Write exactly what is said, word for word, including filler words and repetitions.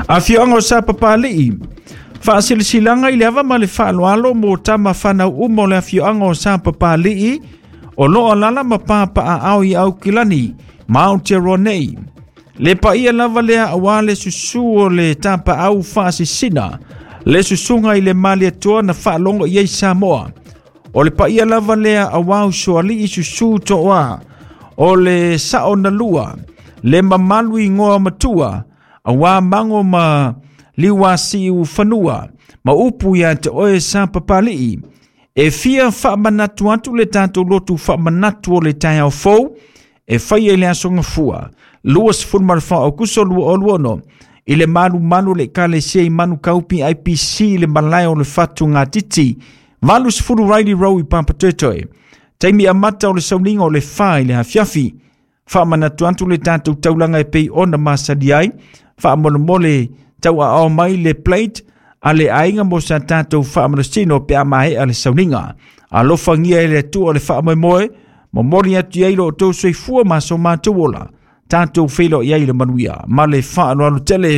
Afioaga o Sapapalii, faasilasilaga i le ava ma le faaaloalo mo tama fanau uma o le afioaga o Sapapalii o loo alala ma papaaao i Aukilani ma Aotearoa nei. Le paia lava lea auā le susū o le tapaau faasisina, le susuga i le Malietoa na faalogo i ai Samoa. O le paia lava lea auā usoalii susū toa, o le sao na lua, le mamalu igoa matua, auā mago ma liuasiu fanua, ma upu ia te oe Sapapalii. E fia faamanatu atu le tatou lotu faamanatu o le taeao fou, e faia i le aso Gafua, luasefuluma fa Aokuso lua o lua ono, i le malumalu o le Ekalesia i Manukau P I P C i le malae o le Fatugatiti, valusefulu Riley Road i Papatoetoe. Taimi amata o le sauniga o le fa i le afiafi. Faamanatu atu le tatou taulaga e pei ona masani ai. Faamolemole tauaao mai le plate a le aiga mo sa tatou faamalosino pe a maea le sauniga. Alofagia e le Atua le faamoemoe, momoli atu ai lo outou soifua ma so matou ola. Tatou feiloai ai i le manuia ma le faaaloalo tele.